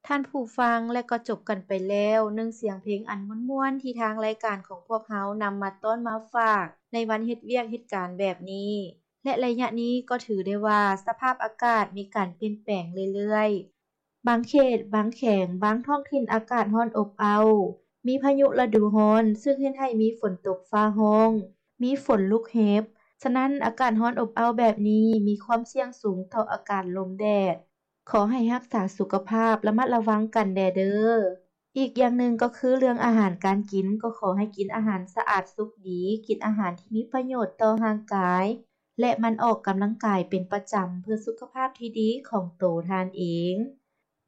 ທ່ານຜູ້ຟັງ ແລະກໍຈົບກັນໄປແລ້ວ ໜຶ່ງສຽງເພງອັນມ່ວນໆ ທີ່ທາງລາຍການຂອງພວກເຮົານຳມາຕ້ອນມາຝາກ ໃນວັນເຮັດວຽກເຮັດການແບບນີ້ ແລະໄລຍະນີ້ກໍຖືໄດ້ວ່າສະພາບອາກາດມີການປ່ຽນແປງເລື້ອຍໆ. ບາງເຂດ, ບາງແຂວງ, ບາງທ້ອງຖິ່ນອາກາດຮ້ອນອົບເອົ້າ, ມີພາຍຸລະດູຮ້ອນ ຊຶ່ງເຮັດໃຫ້ມີຝົນຕົກຟ້າຮ້ອງ, ມີຝົນລູກເຫັບ. ສະນັ້ນ, ອາກາດຮ້ອນອົບເອົ້າແບບນີ້ ມີຄວາມສ່ຽງສູງຕໍ່ອາກາດລົມແດດ. ຂໍໃຫ້ຮັກສາສຸຂະພາບ, ລະມັດລະວັງກັນແດ່ເດີ້. ອີກຢ່າງໜຶ່ງກໍຄືເລື່ອງອາຫານການກິນ, ກໍຂໍໃຫ້ກິນອາຫານສະອາດສຸກດີ, ກິນອາຫານທີ່ມີປະໂຫຍດຕໍ່ຮ່າງກາຍ ແລະ ໝັ່ນອອກກຳລັງກາຍເປັນປະຈຳ ເພື່ອສຸຂະພາບທີ່ດີຂອງໂຕທ່ານເອງ.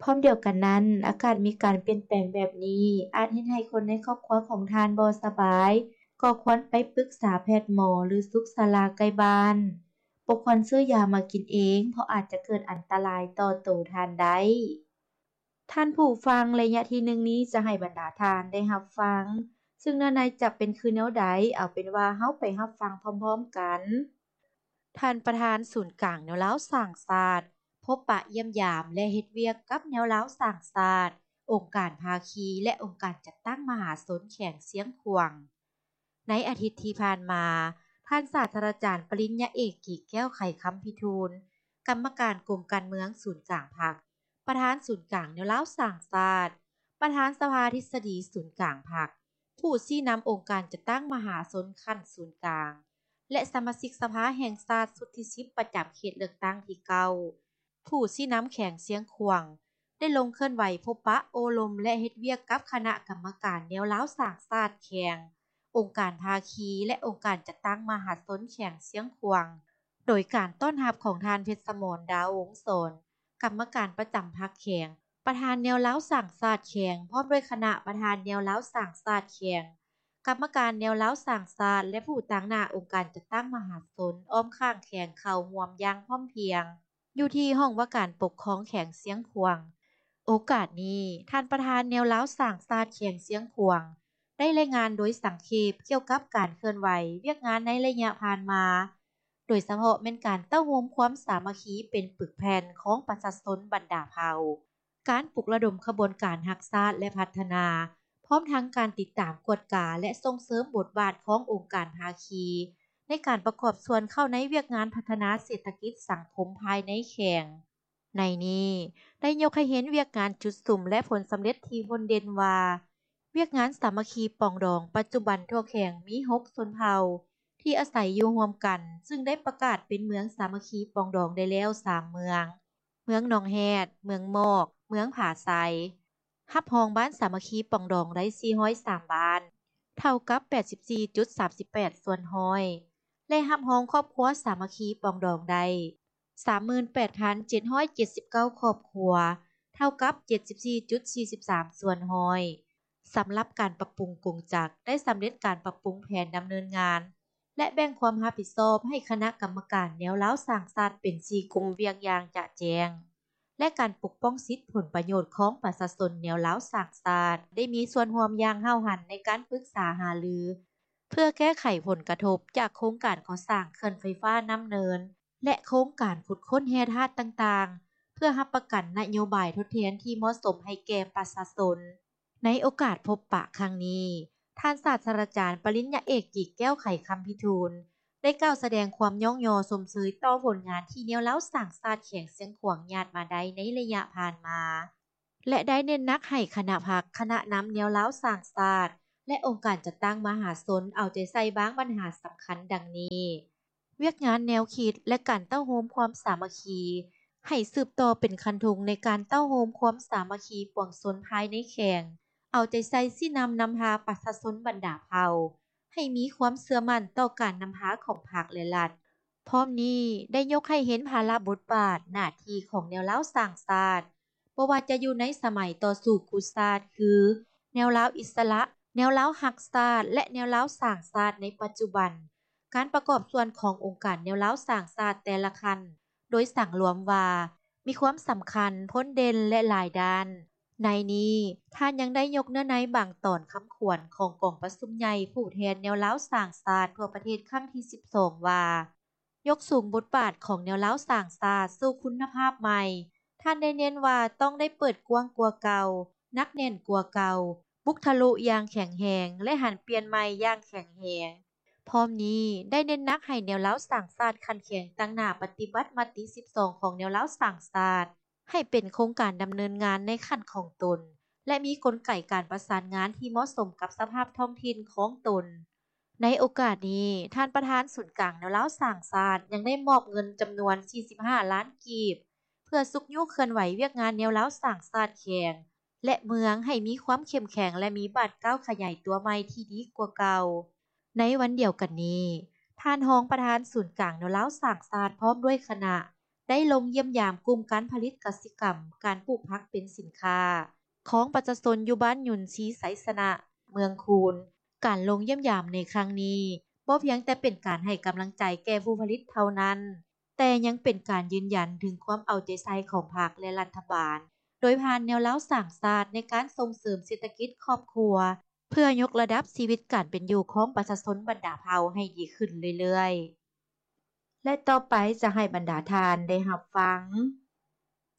ພ້ອມດຽວກັນນັ້ນ, ອາກາດມີການປ່ຽນແປງແບບນີ້ ອາດເຮັດໃຫ້ຄົນໃນຄອບຄົວຂອງທ່ານບໍ່ສະບາຍ, ກໍຄວນໄປປຶກສາແພດໝໍ ຫຼື ສຸກສາລາໃກ້ບ້ານ. ບໍ່ຄວນຊື້ຢາມາກິນເອງ, ເພາະອາດຈະເກີດອັນຕະລາຍຕໍ່ໂຕທ່ານໄດ້. ທ່ານຜູ້ຟັງ, ໄລຍະທີໜຶ່ງນີ້ຈະໃຫ້ບັນດາທ່ານໄດ້ຮັບຟັງ, ຊຶ່ງເນື້ອໃນຈະເປັນຄືແນວໃດ, ເອົາເປັນວ່າເຮົາໄປຮັບຟັງພ້ອມໆກັນ. ທ່ານປະທານສູນກາງແນວລາວສ້າງຊາດ ພົບປະຢ້ຽມຢາມ ແລະ ເຮັດວຽກກັບແນວລາວສ້າງຊາດ, ອົງການພາຄີ ແລະ ອົງການຈັດຕັ້ງມະຫາຊົນແຂວງຊຽງຂວາງ. ໃນອາທິດທີ່ຜ່ານມາ, ທ່ານສາດສະດາຈານປະລິນຍາເອກ ກີແກ້ວ ໄຂຄຳພິທູນ, ກຳມະການກົມການເມືອງສູນກາງພັກ, ປະທານສູນກາງແນວລາວສ້າງຊາດ, ປະທານສະພາທິດສະດີສູນກາງພັກ, ຜູ້ຊີ້ນຳອົງການຈັດຕັ້ງມະຫາຊົນຂັ້ນສູນກາງ ແລະ ສະມາຊິກສະພາແຫ່ງຊາດຊຸດທີສິບ ປະຈຳເຂດເລືອກຕັ້ງທີເກົ້າ, ຜູ້ຊີ້ນຳແຂວງຊຽງຂວາງ ໄດ້ລົງເຄື່ອນໄຫວພົບປະໂອ້ລົມ ແລະ ເຮັດວຽກກັບຄະນະກຳມະການແນວລາວສ້າງຊາດແຂວງ, ອົງການພາຄີ ແລະ ອົງການຈັດຕັ້ງມະຫາຊົນແຂວງຊຽງຂວາງ ໂດຍການຕ້ອນຮັບຂອງທ່ານ ເພັດສະໝອນ ດາວວົງສອນ, ກຳມະການປະຈຳພັກແຂວງ, ປະທານແນວລາວສ້າງຊາດແຂວງ, ພ້ອມດ້ວຍຄະນະປະທານແນວລາວສ້າງຊາດແຂວງ, ກຳມະການແນວລາວສ້າງຊາດ ແລະ ຜູ້ຕາງໜ້າອົງການຈັດຕັ້ງມະຫາຊົນອ້ອມຂ້າງແຂວງ ເຂົ້າຮ່ວມຢ່າງພ້ອມພຽງ ຢູ່ທີ່ຫ້ອງວ່າການປົກຄອງແຂວງຊຽງຂວາງ. ໂອກາດນີ້, ທ່ານປະທານແນວລາວສ້າງຊາດແຂວງຊຽງຂວາງ ໄດ້ລາຍງານໂດຍສັງເຂບກ່ຽວກັບການເຄື່ອນໄຫວວຽກງານໃນໄລຍະຜ່ານມາ, ໂດຍສະເພາະແມ່ນການເຕົ້າໂຮມຄວາມສາມັກຄີເປັນປຶກແຜ່ນຂອງປະຊາຊົນບັນດາເຜົ່າ, ການປຸກລະດົມຂະບວນການຮັກຊາດ ແລະ ພັດທະນາ, ພ້ອມທັງການຕິດຕາມ, ກວດກາ ແລະ ສົ່ງເສີມບົດບາດຂອງອົງການພາຄີ ໃນການປະກອບສ່ວນເຂົ້າໃນວຽກງານພັດທະນາເສດຖະກິດສັງຄົມພາຍໃນແຂວງ. ໃນນີ້ ໄດ້ຍົກໃຫ້ເຫັນວຽກງານຈຸດສຸມ ແລະ ຜົນສຳເລັດທີ່ໂດດເດັ່ນວ່າ ວຽກງານສາມັກຄີປອງດອງ ປັດຈຸບັນທົ່ວແຂວງມີຫົກຊົນເຜົ່າທີ່ອາໄສຢູ່ຮ່ວມກັນ, ຊຶ່ງໄດ້ປະກາດເປັນເມືອງສາມັກຄີປອງດອງໄດ້ແລ້ວສາມເມືອງ, ເມືອງໜອງແຮດ, ເມືອງໝອກ, ເມືອງຜາໄຊ. ຮັບຮອງບ້ານສາມັກຄີປອງດອງໄດ້ສີ່ຮ້ອຍສາມບ້ານ, ເທົ່າກັບແປດສິບສີ່ຈຸດສາມສິບແປດສ່ວນຮ້ອຍ ແລະ ຮັບຮອງຄອບຄົວສາມັກຄີປອງດອງໄດ້ ສາມໝື່ນແປດພັນເຈັດຮ້ອຍເຈັດສິບເກົ້າຄອບຄົວ, ເທົ່າກັບເຈັດສິບສີ່ຈຸດສີ່ສິບສາມສ່ວນຮ້ອຍ. ສຳລັບການປັບປຸງກົງຈັກ ໄດ້ສຳເລັດການປັບປຸງແຜນດຳເນີນງານ ແລະ ແບ່ງຄວາມຮັບຜິດຊອບໃຫ້ຄະນະກຳມະການແນວລາວສ້າງຊາດເປັນສີ່ກຸ່ມວຽກຢ່າງຈະແຈ້ງ ແລະ ການປົກປ້ອງສິດຜົນປະໂຫຍດຂອງປະຊາຊົນແນວລາວສ້າງຊາດ ໄດ້ມີສ່ວນຮ່ວມຢ່າງຫ້າວຫັນໃນການປຶກສາຫາລື ເພື່ອແກ້ໄຂຜົນກະທົບຈາກໂຄງການກໍ່ສ້າງເຂື່ອນໄຟຟ້ານ້ຳເນີນ ແລະ ໂຄງການຂຸດຄົ້ນແຮ່ທາດຕ່າງໆ ເພື່ອຮັບປະກັນນະໂຍບາຍທົດແທນທີ່ເໝາະສົມໃຫ້ແກ່ປະຊາຊົນ. ໃນໂອກາດພົບປະຄັ້ງນີ້, ທ່ານສາດສະດາຈານປະລິນຍາເອກ ກີແກ້ວ ໄຂຄຳພິທູນ ໄດ້ກ່າວສະແດງຄວາມຍ້ອງຍໍຊົມເຊີຍຕໍ່ຜົນງານທີ່ແນວລາວສ້າງຊາດແຂວງຊຽງຂວາງຍາດມາໄດ້ໃນໄລຍະຜ່ານມາ ແລະ ໄດ້ເນັ້ນໜັກໃຫ້ຄະນະພັກ, ຄະນະນຳແນວລາວສ້າງຊາດ ແລະ ອົງການຈັດຕັ້ງມະຫາຊົນເອົາໃຈໃສ່ບາງບັນຫາສຳຄັນດັ່ງນີ້. ວຽກງານແນວຄິດ ແລະ ການເຕົ້າໂຮມຄວາມສາມັກຄີ ໃຫ້ສືບຕໍ່ເປັນຄັນທຸງໃນການເຕົ້າໂຮມຄວາມສາມັກຄີປວງຊົນພາຍໃນແຂວງ, ເອົາໃຈໃສ່ຊີ້ນຳນຳພາປະຊາຊົນບັນດາເຜົ່າ ໃຫ້ມີຄວາມເຊື່ອໝັ້ນຕໍ່ການນຳພາຂອງພັກ ແລະ ລັດ. ພ້ອມນີ້ໄດ້ຍົກໃຫ້ເຫັນພາລະບົດບາດໜ້າທີ່ຂອງແນວລາວສ້າງຊາດ, ບໍ່ວ່າຈະຢູ່ໃນສະໄໝຕໍ່ສູ້ກູ້ຊາດ ຄື ແນວລາວອິດສະຫຼະ, ແນວລາວຮັກຊາດ ແລະ ແນວລາວສ້າງຊາດໃນປັດຈຸບັນ, ການປະກອບສ່ວນຂອງອົງການແນວລາວສ້າງຊາດແຕ່ລະຂັ້ນ ໂດຍສັງລວມວ່າ ມີຄວາມສຳຄັນ, ພົ້ນເດັ່ນ ແລະ ຫຼາຍດ້ານ. ໃນນີ້, ທ່ານຍັງໄດ້ຍົກເນື້ອໃນບາງຕອນຄຳຂວັນຂອງກອງປະຊຸມໃຫຍ່ຜູ້ແທນແນວລາວສ້າງຊາດທົ່ວປະເທດຄັ້ງທີສິບສອງ ວ່າ ຍົກສູງບົດບາດຂອງແນວລາວສ້າງຊາດສູ່ຄຸນນະພາບໃໝ່, ທ່ານໄດ້ເນັ້ນວ່າຕ້ອງໄດ້ເປີດກວ້າງກວ່າເກົ່າ, ໜັກແໜ້ນກວ່າເກົ່າ, ບຸກທະລຸຢ່າງແຂງແຮງ ແລະ ຫັນປ່ຽນໃໝ່ຢ່າງແຂງແຮງ. ພ້ອມນີ້ໄດ້ເນັ້ນໜັກໃຫ້ແນວລາວສ້າງຊາດຂັ້ນແຂວງຕັ້ງໜ້າປະຕິບັດມະຕິສິບສອງຂອງແນວລາວສ້າງຊາດ ໃຫ້ເປັນໂຄງການດຳເນີນງານໃນຂັ້ນຂອງຕົນ ແລະ ມີກົນໄກການປະສານງານທີ່ເໝາະສົມກັບສະພາບທ້ອງຖິ່ນຂອງຕົນ. ໃນໂອກາດນີ້, ທ່ານປະທານສູນກາງແນວລາວສ້າງຊາດ ຍັງໄດ້ມອບເງິນຈຳນວນສີ່ສິບຫ້າລ້ານກີບ ເພື່ອຊຸກຍູ້ເຄື່ອນໄຫວວຽກງານແນວລາວສ້າງຊາດແຂວງ ແລະ ເມືອງໃຫ້ມີຄວາມເຂັ້ມແຂງ ແລະ ມີບາດກ້າວຂະຫຍາຍຕົວໃໝ່ທີ່ດີກວ່າເກົ່າ. ໃນວັນດຽວກັນນີ້, ທ່ານຮອງປະທານສູນກາງແນວລາວສ້າງຊາດ ພ້ອມດ້ວຍຄະນະ ໄດ້ລົງຢ້ຽມຢາມກຸ່ມການຜະລິດກະສິກຳ, ການປູກຜັກເປັນສິນຄ້າ ຂອງປະຊາຊົນຢູ່ບ້ານຍຸນຊີໄຊຊະນະ, ເມືອງຄູນ. ການລົງຢ້ຽມຢາມໃນຄັ້ງນີ້ ບໍ່ພຽງແຕ່ເປັນການໃຫ້ກຳລັງໃຈແກ່ຜູ້ຜະລິດເທົ່ານັ້ນ, ແຕ່ຍັງເປັນການຢືນຢັນເຖິງຄວາມເອົາໃຈໃສ່ຂອງພັກ ແລະ ລັດຖະບານ ໂດຍຜ່ານແນວລາວສ້າງຊາດໃນການສົ່ງເສີມເສດຖະກິດຄອບຄົວ ເພື່ອຍົກລະດັບຊີວິດການເປັນຢູ່ຂອງປະຊາຊົນບັນດາເຜົ່າໃຫ້ດີຂຶ້ນເລື້ອຍໆ. ແລະ ຕໍ່ໄປຈະໃຫ້ບັນດາທ່ານໄດ້ຮັບຟັງ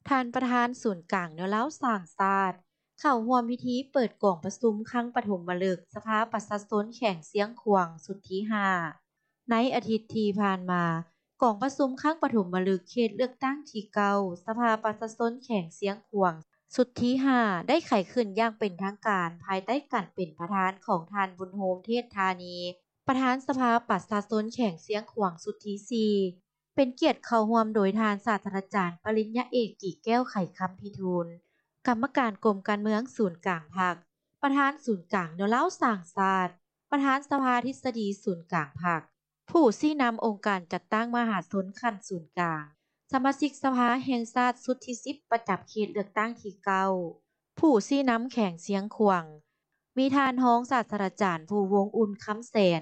ທ່ານປະທານສູນກາງແນວລາວສ້າງຊາດ ເຂົ້າຮ່ວມພິທີເປີດກອງປະຊຸມຄັ້ງປະຖົມມະລຶກສະພາປະຊາຊົນແຂວງຊຽງຂວາງຊຸດທີຫ້າ. ໃນອາທິດທີ່ຜ່ານມາ, ກອງປະຊຸມຄັ້ງປະຖົມມະລຶກເຂດເລືອກຕັ້ງທີເກົ້າ ສະພາປະຊາຊົນແຂວງຊຽງຂວາງຊຸດທີຫ້າ ໄດ້ໄຂຂຶ້ນຢ່າງເປັນທາງການ ພາຍໃຕ້ການເປັນປະທານຂອງທ່ານ ບຸນໂຮມ ເທດທານີ ປະທານສະພາປະຊາຊົນແຂວງຊຽງຂວາງຊຸດທີສີ່ ເປັນກຽດເຂົ້າຮ່ວມໂດຍທ່ານສາດສະດາຈານປະລິນຍາເອກ ກີແກ້ວ ໄຂຄຳພິທູນ ກຳມະການກົມການເມືອງສູນກາງພັກ, ປະທານສູນກາງແນວລາວສ້າງຊາດ, ປະທານສະພາທິດສະດີສູນກາງພັກ, ຜູ້ຊີ້ນຳອົງການຈັດຕັ້ງມະຫາຊົນຂັ້ນສູນກາງ, ສະມາຊິກສະພາແຫ່ງຊາດຊຸດທີສິບ ປະຈຳເຂດເລືອກຕັ້ງທີເກົ້າ, ຜູ້ຊີ້ນຳແຂວງຊຽງຂວາງ, ມີທ່ານຮອງສາດສະດາຈານ ພູວົງອຸ່ນ ຄຳແສນ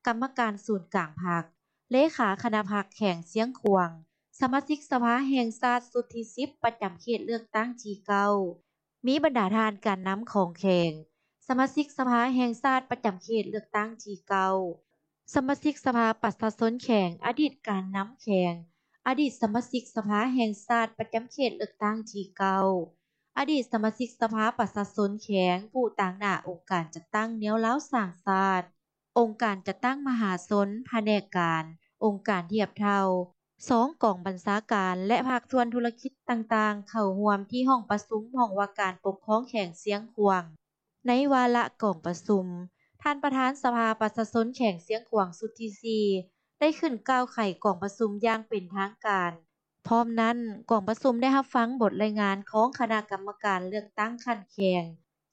ກຳມະການສູນກາງພັກ, ເລຂາຄະນະພັກແຂວງຊຽງຂວາງ, ສະມາຊິກສະພາແຫ່ງຊາດຊຸດທີສິບ ປະຈຳເຂດເລືອກຕັ້ງທີເກົ້າ, ມີບັນດາທ່ານການນຳຂອງແຂວງ, ສະມາຊິກສະພາແຫ່ງຊາດປະຈຳເຂດເລືອກຕັ້ງທີເກົ້າ, ສະມາຊິກສະພາປະຊາຊົນແຂວງ, ອະດີດການນຳແຂວງ, ອະດີດສະມາຊິກສະພາແຫ່ງຊາດປະຈຳເຂດເລືອກຕັ້ງທີເກົ້າ, ອະດີດສະມາຊິກສະພາປະຊາຊົນແຂວງ, ຜູ້ຕາງໜ້າອົງການຈັດຕັ້ງແນວລາວສ້າງຊາດ, ອົງການຈັດຕັ້ງມະຫາຊົນ, ພະແນກການ, ອົງການທຽບເທົ່າ, ສອງກອງບັນຊາການ ແລະ ພາກສ່ວນທຸລະກິດຕ່າງໆ ເຂົ້າຮ່ວມທີ່ຫ້ອງປະຊຸມຫ້ອງວ່າການປົກຄອງແຂວງຊຽງຂວາງ. ໃນວາລະກອງປະຊຸມ, ທ່ານປະທານສະພາປະຊາຊົນແຂວງຊຽງຂວາງຊຸດທີສີ່ ໄດ້ຂຶ້ນກ່າວໄຂກອງປະຊຸມຢ່າງເປັນທາງການ. ພ້ອມນັ້ນ, ກອງປະຊຸມໄດ້ຮັບຟັງບົດລາຍງານຂອງຄະນະກຳມະການເລືອກຕັ້ງຂັ້ນແຂວງ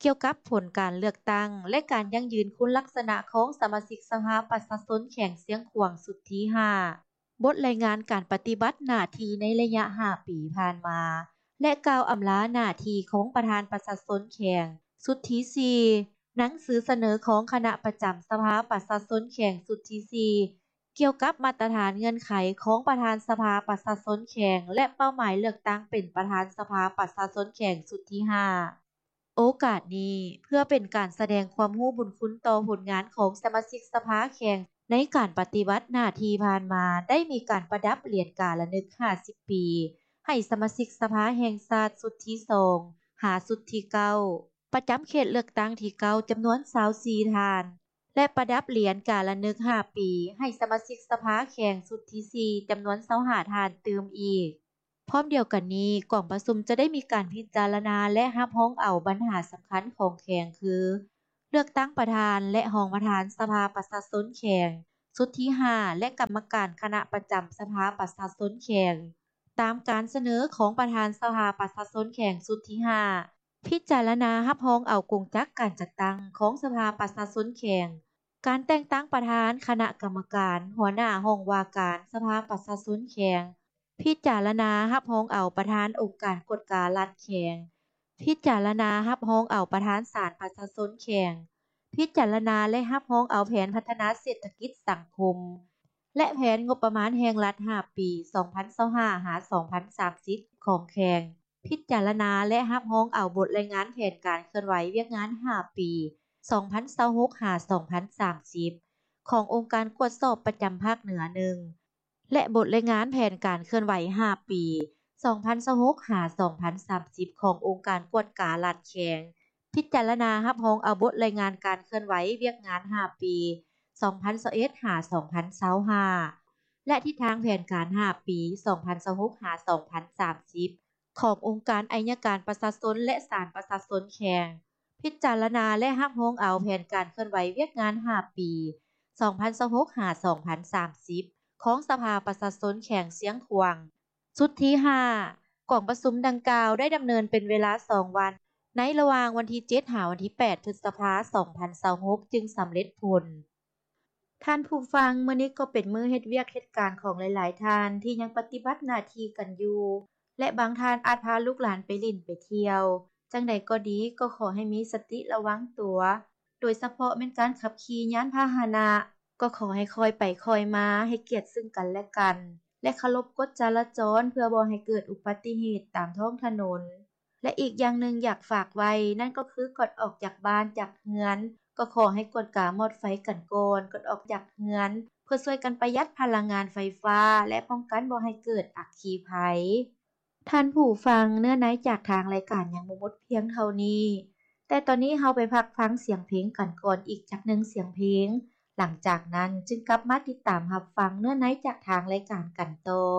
ກ່ຽວກັບຜົນການເລືອກຕັ້ງ ແລະ ການຢັ້ງຢືນຄຸນລັກສະນະຂອງສະມາຊິກສະພາປະຊາຊົນແຂວງຊຽງຂວາງຊຸດທີຫ້າ, ບົດລາຍງານການປະຕິບັດໜ້າທີ່ໃນໄລຍະຫ້າປີຜ່ານມາ ແລະ ກ່າວອຳລາໜ້າທີ່ຂອງປະທານປະຊາຊົນແຂວງຊຸດທີສີ່, ໜັງສືສະເໜີຂອງຄະນະປະຈຳສະພາປະຊາຊົນແຂວງຊຸດທີສີ່ ກ່ຽວກັບມາດຕະຖານເງື່ອນໄຂຂອງປະທານສະພາປະຊາຊົນແຂວງ ແລະ ເປົ້າໝາຍເລືອກຕັ້ງເປັນປະທານສະພາປະຊາຊົນແຂວງຊຸດທີຫ້າ. ໂອກາດນີ້ ເພື່ອເປັນການສະແດງຄວາມຮູ້ບຸນຄຸນຕໍ່ຜົນງານຂອງສະມາຊິກສະພາແຂວງໃນການປະຕິບັດໜ້າທີ່ຜ່ານມາ ໄດ້ມີການປະດັບຫຼຽນກາລະນຶກຫ້າສິບປີ ໃຫ້ສະມາຊິກສະພາແຫ່ງຊາດຊຸດທີສອງ ຫາຊຸດທີເກົ້າ ປະຈຳເຂດເລືອກຕັ້ງທີເກົ້າ ຈຳນວນຊາວສີ່ທ່ານ ແລະ ປະດັບຫຼຽນກາລະນຶກຫ້າປີ ໃຫ້ສະມາຊິກສະພາແຂວງຊຸດທີສີ່ ຈຳນວນຊາວຫ້າທ່ານຕື່ມອີກ. ພ້ອມດຽວກັນນີ້, ກອງປະຊຸມຈະໄດ້ມີການພິຈາລະນາ ແລະ ຮັບຮອງເອົາບັນຫາສຳຄັນຂອງແຂວງ ຄື ເລືອກຕັ້ງປະທານ ແລະ ຮອງປະທານສະພາປະຊາຊົນແຂວງຊຸດທີຫ້າ ແລະ ກຳມະການຄະນະປະຈຳສະພາປະຊາຊົນແຂວງ ຕາມການສະເໜີຂອງປະທານສະພາປະຊາຊົນແຂວງຊຸດທີຫ້າ. ພິຈາລະນາຮັບຮອງເອົາກົງຈັກການຈັດຕັ້ງຂອງສະພາປະຊາຊົນແຂວງ, ການແຕ່ງຕັ້ງປະທານຄະນະກຳມະການ, ຫົວໜ້າຫ້ອງວ່າການສະພາປະຊາຊົນແຂວງ, ພິຈາລະນາຮັບຮອງເອົາປະທານອົງການກວດກາລັດແຂວງ, ພິຈາລະນາຮັບຮອງເອົາປະທານສານປະຊາຊົນແຂວງ, ພິຈາລະນາ ແລະ ຮັບຮອງເອົາແຜນພັດທະນາເສດຖະກິດສັງຄົມ ແລະ ແຜນງົບປະມານແຫ່ງລັດຫ້າປີ ສອງພັນຊາວຫ້າ ຫາ ສອງພັນສາມສິບ ຂອງແຂວງ, ພິຈາລະນາ ແລະ ຮັບຮອງເອົາບົດລາຍງານແຜນການເຄື່ອນໄຫວວຽກງານຫ້າປີ ສອງພັນຊາວຫົກ ຫາ ສອງພັນສາມສິບ ຂອງອົງການກວດສອບປະຈຳພາກເໜືອໜຶ່ງ ແລະ ບົດລາຍງານແຜນການເຄື່ອນໄຫວຫ້າປີ ສອງພັນຊາວຫົກ ຫາ ສອງພັນສາມສິບ ຂອງອົງການກວດກາລັດແຂວງ ພິຈາລະນາຮັບຮອງເອົາບົດລາຍງານການເຄື່ອນໄຫວວຽກງານຫ້າປີ ສອງພັນຊາວເອັດ ຫາ ສອງພັນຊາວຫ້າ ແລະ ທິດທາງແຜນການຫ້າປີ ສອງພັນຊາວຫົກ ຫາ ສອງພັນສາມສິບ ຂອງອົງການໄອຍະການປະຊາຊົນ ແລະ ສານປະຊາຊົນແຂວງ ພິຈາລະນາ ແລະ ຮັບຮອງເອົາແຜນການເຄື່ອນໄຫວວຽກງານຫ້າປີ ສອງພັນຊາວຫົກ ຫາ ສອງພັນສາມສິບ ຂອງສະພາປະຊາຊົນແຂວງຊຽງຂວາງ. ຊຸດທີຫ້າ ກອງປະຊຸມດັ່ງກ່າວໄດ້ດຳເນີນເປັນເວລາສອງວັນ ໃນລະຫວ່າງວັນທີເຈັດ ຫາ ວັນທີແປດ ພຶດສະພາ ສອງພັນຊາວຫົກ ຈຶ່ງສຳເລັດຜົນ. ທ່ານຜູ້ຟັງ, ມື້ນີ້ກໍເປັນມື້ເຮັດວຽກເຮັດການຂອງຫຼາຍໆທ່ານທີ່ຍັງປະຕິບັດໜ້າທີ່ກັນຢູ່ ແລະ ບາງທ່ານອາດພາລູກຫຼານໄປຫຼິ້ນໄປທ່ຽວ. ຈັ່ງໃດກໍດີ, ກໍຂໍໃຫ້ມີສະຕິລະວັງຕົວ, ໂດຍສະເພາະແມ່ນການຂັບຂີ່ຍານພາຫະນະ, ກໍຂໍໃຫ້ຄ່ອຍໄປຄ່ອຍມາ, ໃຫ້ກຽດເຊິ່ງກັນແລະກັນ ແລະ ເຄົາລົບກົດຈະລາຈອນ ເພື່ອບໍ່ໃຫ້ເກີດອຸບັດຕິເຫດຕາມທ້ອງຖະໜົນ. ແລະ ອີກຢ່າງໜຶ່ງຢາກຝາກໄວ້ ນັ້ນກໍຄືກ່ອນອອກຈາກບ້ານຈາກເຮືອນ ກໍຂໍໃຫ້ກວດກາມອດໄຟກັນກ່ອນ ກ່ອນອອກຈາກເຮືອນ ເພື່ອຊ່ວຍກັນປະຢັດພະລັງງານໄຟຟ້າ ແລະ ປ້ອງກັນບໍ່ໃຫ້ເກີດອັກຄີໄພ. ທ່ານຜູ້ຟັງ, ເນື້ອໃນຈາກທາງລາຍການຍັງບໍ່ໝົດພຽງເທົ່ານີ້, ແຕ່ຕອນນີ້ເຮົາໄປພັກຟັງສຽງເພງກັນກ່ອນອີກຈັກໜຶ່ງສຽງເພງ, ຫຼັງຈາກນັ້ນຈຶ່ງກັບມາຕິດຕາມຮັບຟັງເນື້ອໃນຈາກທາງລາຍການກັນຕໍ່.